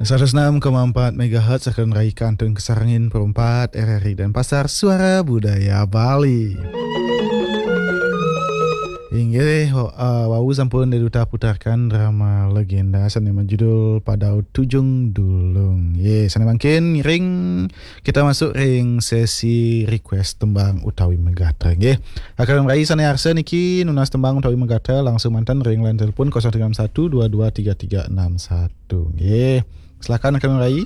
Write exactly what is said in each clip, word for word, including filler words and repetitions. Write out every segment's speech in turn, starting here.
Seratus enam koma empat megahertz akan raikan tun kesarengin perumpat R R I Denpasar, Suara Budaya Bali. Inggih, ho-, eh, wau sampun Dé Duta putarkan drama legenda sane majudul Padau Tujung Dulung. Ye, sane mangkin ngiring kita masuk ring sesi request tembang utawi megatra, nggih. Akan rai sane arsa niki nunas tembang utawi megatra langsung manten ring line telepon kosong tiga enam satu dua dua tiga tiga enam satu, nggih. Silakan akan rai.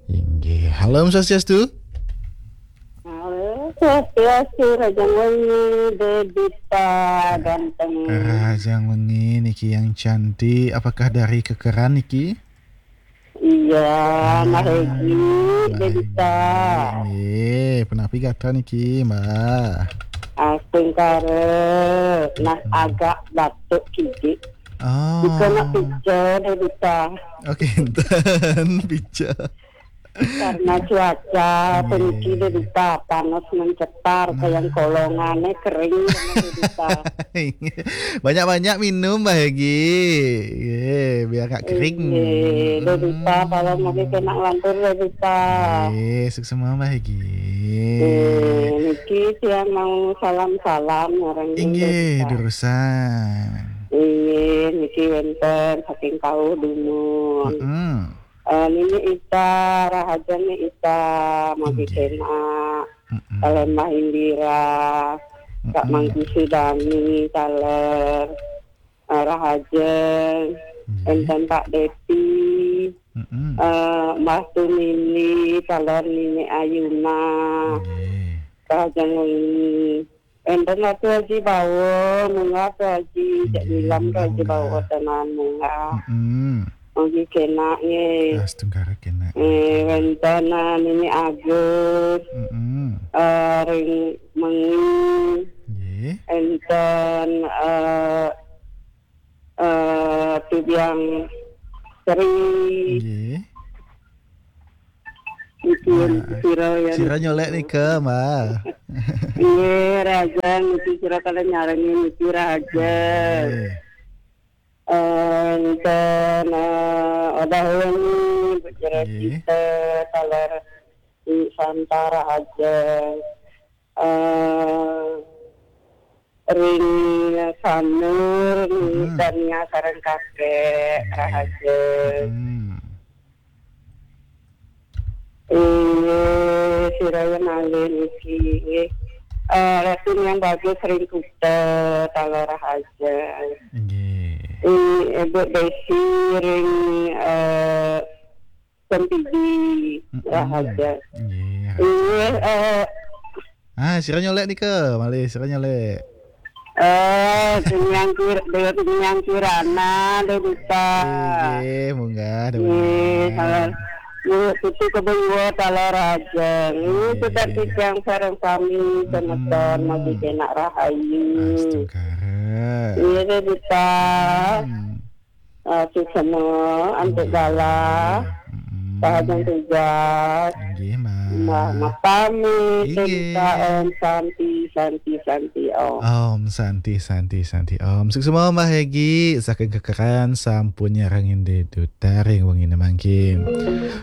Inggih. Halo, Om Swastiastu. Halo, Swastiastu, Rahajeng wengi, Dé Duta ganteng. Rahajeng wengi niki yang cantik. Apakah dari Kekeran niki? Iya, Mbah Hegi, Dé Duta. Nggih, punapi gatra niki, Mbah? Astungkara, nah, agak batuk kidik. Oh. Dikena pica, Dé Duta. Oke, enten pica. Karena cuaca puniki, Dé Duta, panas mencetar, kayang kolongane kering, Dé Duta. Banyak-banyak minum, Mbah Hegi. Ye, biar nggak kering. Nggih, Dé Duta, kalau mungkin kena lantur, Dé Duta. Nggih, suksema, Mbah Hegi. Nggih, niki tiang mau salam-salam, orang Inggih, Dé Duta. Durusan. Inggih, niki wenten saking Kauh Dumun. Mm-mm. Eh, Nini Ita, Rahajeng Ni Ita, Magi Nggih. Kena, Mm-mm. Taler Mbah Indira, Kak Mm-mm. Mangku Sudani, taler, eh, Rahajeng, Nggih. Enten Pak Depi, Mm-mm. eh, Mbah Tunini, taler Nini Ayuna, Nggih. Rahajeng Ni. Enten Ratu Haji Bawa, munggah Ratu Haji, cek Nggih, nilam Ratu Haji Bawa munggah. Tenan munggah. Mm-mm. Mugi kena nggih. Astungkara kena. Eh, wenten, eh, Nini Agus. Mm-mm. Eh, ring mengi. Nggih. Enten, eh, eh, Tubiang Sri. Nggih. Niki sira ya. Sira nyolek nika, Mbah. Nggih, Rahajeng, niki sira kala nyarengin niki, Rahajeng. Nggih. Enten, eh, Odah Wengi, Bu Jero Nggih. Sita, taler Santa, Rahajeng. Eh, ring Sanur, Dania sareng kakek, Rahajeng. Hmm. Inggih, sira malih niki, nggih. Eh, Ratu Niang Bagus ring Kuta, taler Rahajeng. Nggih. I-, Ibu Desi ring, eh, Sempidi, Rahajeng. Nggih, Rahajeng. Inggih, eh, Ah, sira nyolek nika, malih sira nyolek. Eh, Tiniang Kir-, Dewa Tiniang Kirana, Dé Duta. Nggih, munggah, Dé Nggih, Tiniang. Taler. Nggih, Putu Kebun Dua, taler Rahajeng. Nggih, nggih. Sudah titiang sareng sami, semeton, magi kena rahayu. Astungkara. Nggih, Dé Duta. Hmm. Eh, suksema, antuk galah, Rahajeng tugas. Inggih, Mbah. Mbah, mapamit, Dé Duta, Om Santi, Santi, Santi, Om. Om Santi, Santi, Santi, Om. Suksema, Mbah Hegi, saking Kekeran sampun nyarengin Dé Duta ring wengine mangkin.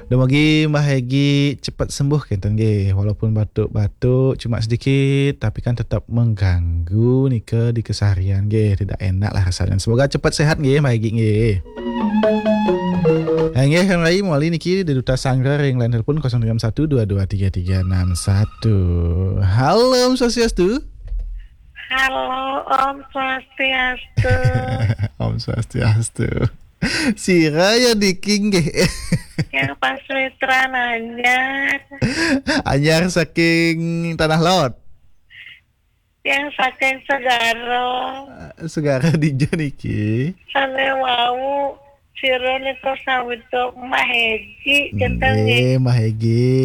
Dumugi Mbah Hegi cepet sembuh kenten nggih, walaupun batuk-batuk cuma sedikit, tapi kan tetap mengganggu nika di keseharian nggih, tidak enak lah rasanya. Semoga cepat sehat nggih, Mbah Hegi nggih. Eh, nggih, kan rai mawali niki Dé Duta Sanggra ring line telepon kosong tiga enam satu dua dua tiga tiga enam satu. Halo, Om Swastiastu. Halo, Om Swastiastu. Om Swastiastu. Sira ya niki nggih. Yang pas Mitra nanya. Anyar saking Tanah Laut. Yang saking Segara. Eh, Segara dija niki? Sane wau, sira nika sawitra Mbah Hegi, kenten nggih. Nggih, Mbah Hegi.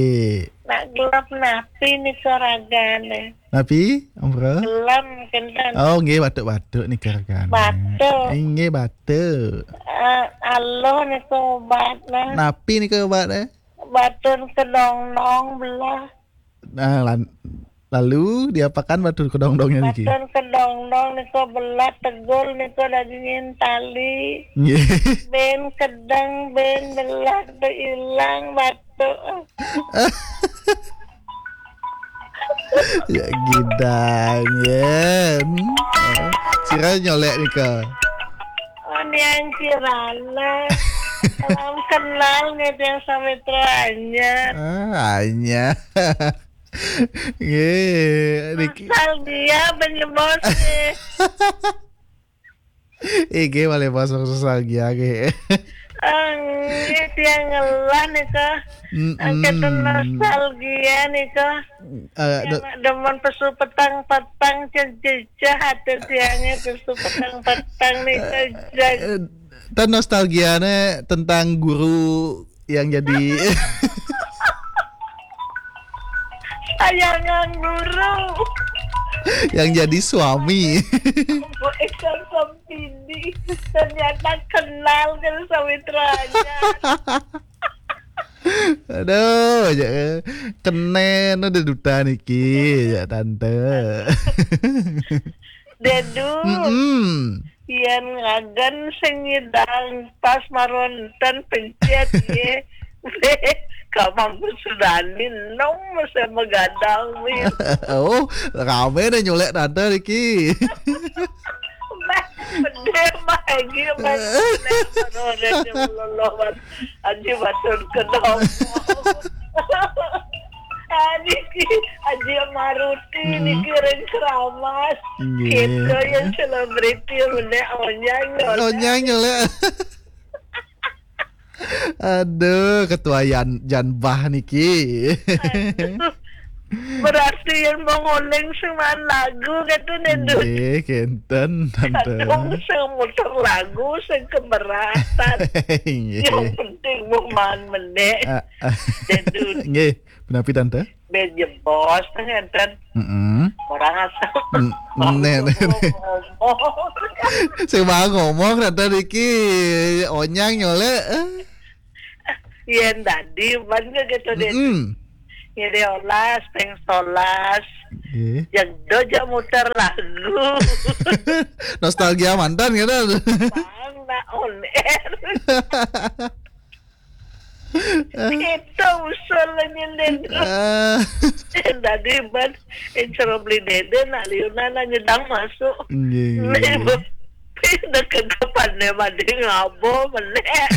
Nak gelem napi nika ragane? Napi, Om Pro? Gelem, kenten. Oh, nggih, batuk-batuk nika ragane. Batuk. Inggih, batuk. Eh, aluh nika obatne. Napi nika obatne? Batun kedongnong belah. Nah, lan-, Lalu diapakan batu kedongdongnya niki? Batu kedongdong nika belat tegul nika dagingin tali. Nggih. Ben kedeng, ben belat tu ilang batu. Ya gidang ya. Sira nyolek nika. Oh, niang kirana. Salam kenal nih yang Samitra Anyar. Ah, Anyar. Nggih, niki. Nostalgia penyebos nih. Iki malih bos nostalgia nggih. Nggih, tiang ngelah nika. Mm-mm. Angkatan nostalgia nika. Eh, tiang do- demen pesu petang-petang, cecah ati tiangnya pesu petang-petang nika. Eh, eh, dan nostalgianya tentang guru yang jadi sayangan guru. Yang jadi suami. Bu Iksan Sempidi. Ternyata kenal kan Sawitranya. Aduh, ya, kenen ada duta niki, ya tante. Dedu. Mm-mm. Yen ngagen sing nyidang pas maronten pencet ye. Kamang sudani nong mesti megadang wih. Oh, rame nih nyolek tante niki. Meh, meh, meh, lagi, meh, meh, meh, meh, meh, meh, Aji Batun Kedong. Ah, niki, Aji Maruti, hmm, niki ring Keramas. Nggih. Kita yang selebriti menek onyang nyolek. Onyang nyolek. Aduh, ketua Yan, Janbah niki. Aduh. Berarti yang mau ngoling sing maan lagu gitu nih, Dun. Nggih, kenten, tante. Kadung sing muter lagu sing keberatan. Nggih. Yang penting mau maan menek. Ah, ah. Dun. Nggih, punapi tante? Ben jebos, ngenten. Mm-mm. Orang asal. Mm, ngomong. Nek, nek, nek. Sing mau ngomong tante niki onyang nyolek. Yen tadi ban ke gitu deh. Mm-mm. Jadi olas, peng solas. Nggih. Yang dojo muter lagu. Nostalgia mantan gitu. Bang, nak on air. Kita usul nyenden. Ah. Yen tadi ban, yang suruh beli dede, nak liuna, nak nyedang masuk. Nggih, nggih. Nih, bu, pindah ke depan deh, mandi ngabo, menek.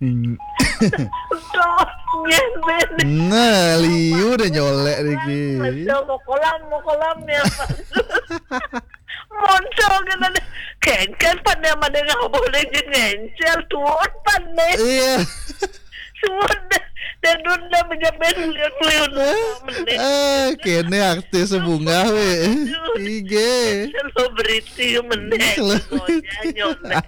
Hmm. Doh, nyenden. Nah, liu dah nyolek niki. Masuk mau kolam, mau kolam ya, Pak. Monco kena deh. Kengken pan yang ada ngabo deh, je ngencel, tuon pan deh. Iya. Suwun deh. Dan dun dah menjamin liun-liun. Eh, eh, kene artis bunga we. Aduh. Ige. Selebriti menek. Selebriti. Ngonya nyontek.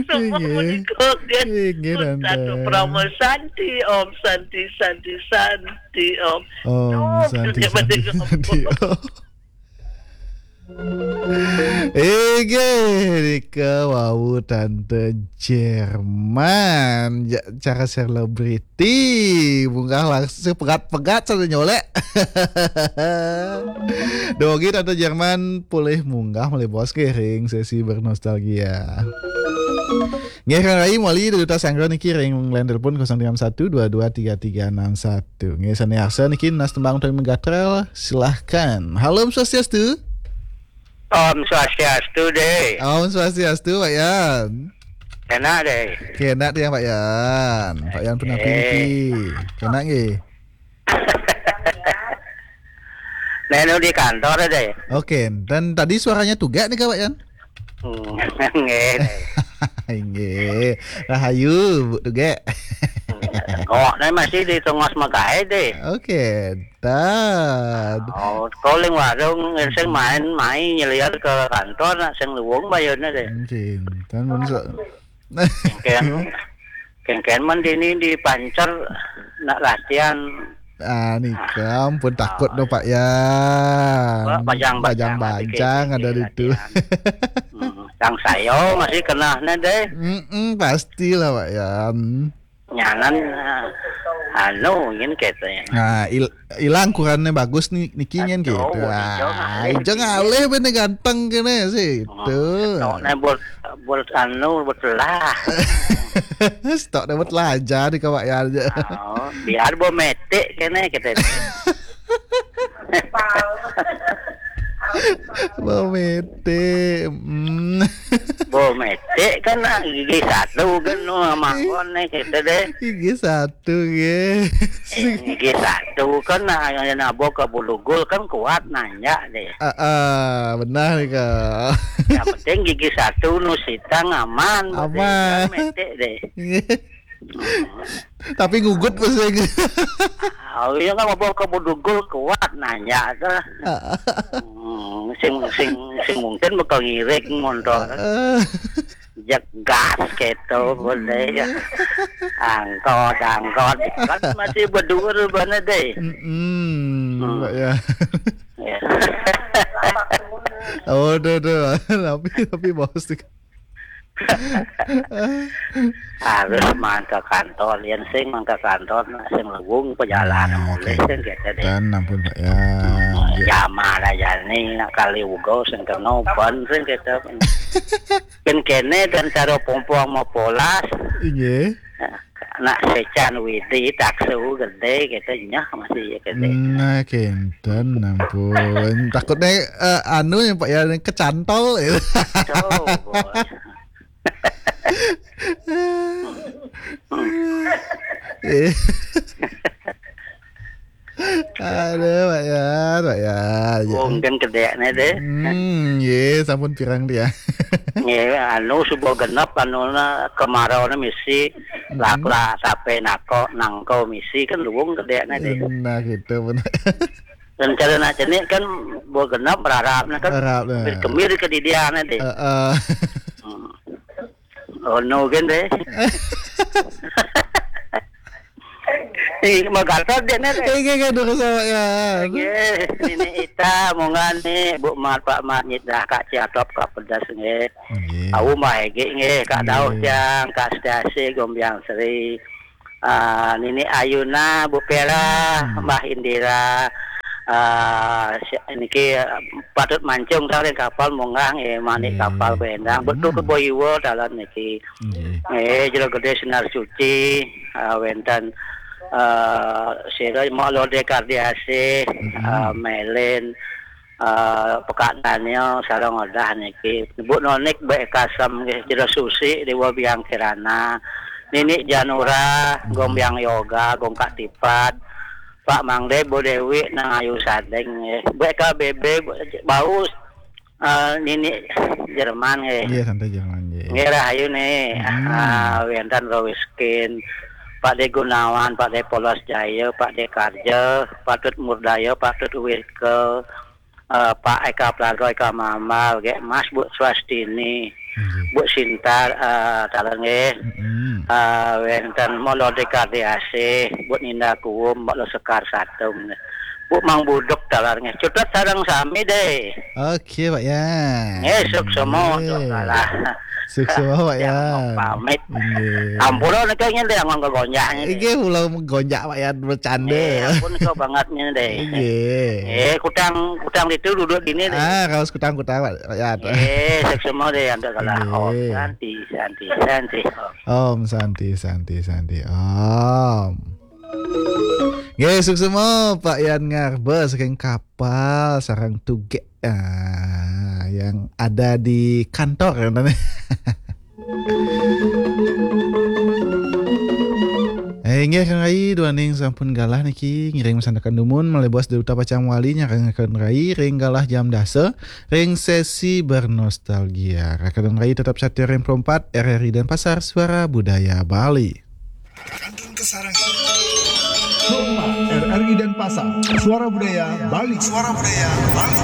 Semua menikah, kan? Ige, tante. Satu Parama Santi, Om Santi, Santi, Santi, Om. Om Santi, Santi, Santi, Om. Ege, nika wau tante Jerman. Ja-, cara selebriti. Munggah langsung pegat-pegat satu nyolek. Dogi tante Jerman pulih munggah malih bos ke ring sesi bernostalgia. Nggih, Kang Rai, mawali duta sanggra niki ring line telepon kosong tiga enam satu dua dua tiga tiga enam satu. Nggih, sane arsa niki nas tembang utawi megatrel, silahkan. Halo, Om Swastiastu. Om Swastiastu, Dek. Om Swastiastu, Pak Yan. Enak, Dek. Kenak tiang, Pak Yan. Pak Yan punapi niki. Kenak nggih. Nenu di kantor, Dek. Oke, dan tadi suaranya tugak nih, Pak Yan? Hmm, nggih. Inggih. Rahayu, Bu Tugek. Kok nih masih di tengos magae deh. Oke, tad. Oh, calling warung, sing main, main nyeliar ke kantor, nak sing luwung bayarnya deh. Mungkin, kan mun so- Kengken, kengken men dini di pancer nak latihan. Ah, nika ampun takut no, Pak Yan. Wah, bajang-bajang bajang-bajang ada di situ. Latihan. Hmm, sang sayo masih kena ne deh. Mm-mm, pastilah, Pak Yan. Nyanan, ah, Anu, nyen kete. Nah, il- ilang ukurannya bagus nih, niki nyen gitu. Aduh, ijo ngalih. Ah, ijo ngalih, bener ganteng kene sih. Oh, itu. Stoknya buat, buat anu, buat lah. Stoknya buat lah aja di kawak ya aja. Oh, biar bo metik kene kete. Bo metik. Hmm. Bo metik kan, ah, gigi satu kan, nu manggon nih kete deh. Gigi satu nggih. Eh, gigi satu kan, nah, yang nabo ke bulugul kan kuat nanjak deh. Ah, ah, benar nih, Kak. Yang penting gigi satu nu sitang aman, aman. Kan metik deh. Nggih. Tapi ngugut pasti. Oh, iya kan, nabo ke bulugul kuat nanjak tuh. Ah, ah. Hmm, sing, sing, sing mungkin bakal ngirik motor. Ah, ah. Jegas gitu, boleh ya. Angkot, angkot. Kan masih berdua rupanya deh. Mm-mm, hmm. Pak ya. Ya. Oh, tuh, tuh. Tapi, tapi bos tuh. Harus mangke kantor, yen sing mangke kantor, nah, sing lewung perjalanan. Nah, mulih oke. Sing gitu deh. Dan ampun, Pak ya. Hmm, ya. Jamaah aja nih, nak kali uga sing kena ban sing gitu. Kan kene dan cara pompong mau polas. Inggih. Nak secan widi taksu gede gitu, nyah masih ya gede. Nah, kenten ampun. Takutnya, eh, anu ya, Pak ya, kecantol ya. Tuh, bos. Eh. Aduh, Pak Yan, Pak Yan. Mungkin kedekne deh. Hmm, ye, sampun pirang dia. Ye, anu subuh genep, anu na kemarau na misi, hmm, lakla sampai nako nangko misi kan luwung kedekne deh. Nah, gitu benar. Dan cara nak jenik kan buah genep berharap kan. Berharap, nah. Kemir kedidian deh. Heeh. Hmm. Oh, no, kan deh. Ih, mau gatot dia nih, deh. Iya, iya, iya, durus sama ya. Iya, ini Ita, mongga nih, Bu Mat, Pak Mat, nyit dah, Kak Ciatop, Kak Pedas, nggih. Nggih. Aku mah, nggih, nggih, Kak Daud, nggih. Jang, Kak Setiasi, Gombiang Sri. Ah, Nini Ayuna, Bu Pera, hmm, Mbah Indira, ah, si-, niki, ah, patut mancung taring kapal, mongga, nggih, manik, nggih, kapal bendang. Betul, hmm, ke Boiwo, dalan niki. Nggih. Eh, Jero Gede Sinar Suci, ah, wenten, ah, sira Mak Lode Kardiasih, mm-mm, ah, Melin, ah, Pekak Daniel, sareng Odah niki. Bu Nonik, Mbak Kasem, nggih, Jero Susi, Dewa Biang Kirana, Nini Janura, nggih, Gong Biang Yoga, Gong Kak Tipat, Pak Mangde, Bu Dewi, Nang Ayu Sadeng, nggih. Bu K B B, Bu Baus, eh, Nini Jerman, nggih. Nggih, santai Jerman, nggih. Nggih, rahayu nih. Hmm. Ah, wenten Rowiskin, Pak De Gunawan, Pak De Polos Jaya, Pak De Karja, Pak Tut Murdaya, Pak Tut Wirke, eh, Pak Eka Plago, Eka Mamal, nggih, Mas Bu Swastini, nggih, Bu Sintar, eh, taler nggih. Mm-mm. Eh, wenten Molo De Kardiasih, Bu Ninda Kuwum, Mbak Lo Sekar Satung, nggih. Bu Mang Buduk taler nggih. Cutet sareng sami deh. Oke, Pak Yan. Nggih, suksema, nggih, untuk kalah. Suksema, Pak Yan. Pamit. Nggih. Ampura nika nyen deh, anggon kegonjak nyen deh. Nggih, kula gonjak, Pak Yan, bercanda. Nggih, ampun, kok banget nyen deh. Nggih. Nggih, kutang, kutang itu duduk dini deh. Ah, kaos kutang-kutang, Pak Yan. Nggih, suksema deh, untuk kalah. Nggih. Om Santi, Santi, Santi. Om. Om Santi, Santi, Santi. Om. Nggih, suksema Pak Yan Ngarba saking kapal sareng tugek, ah, yang ada di kantor, ya, teman. Eh, inggih, Kang Rai, duaning sampun galah niki ngiring masandekan dumun, malih bos Duta Pacang Wali nyarengaken Rai ring galah jam dasa ring sesi bernostalgia. Rakanan Rai tetap satia ring Pro empat R R I Denpasar, Suara Budaya Bali. Kantun kasarengin. Pro empat R R I Denpasar, Suara Budaya Bali. Suara Budaya Bali.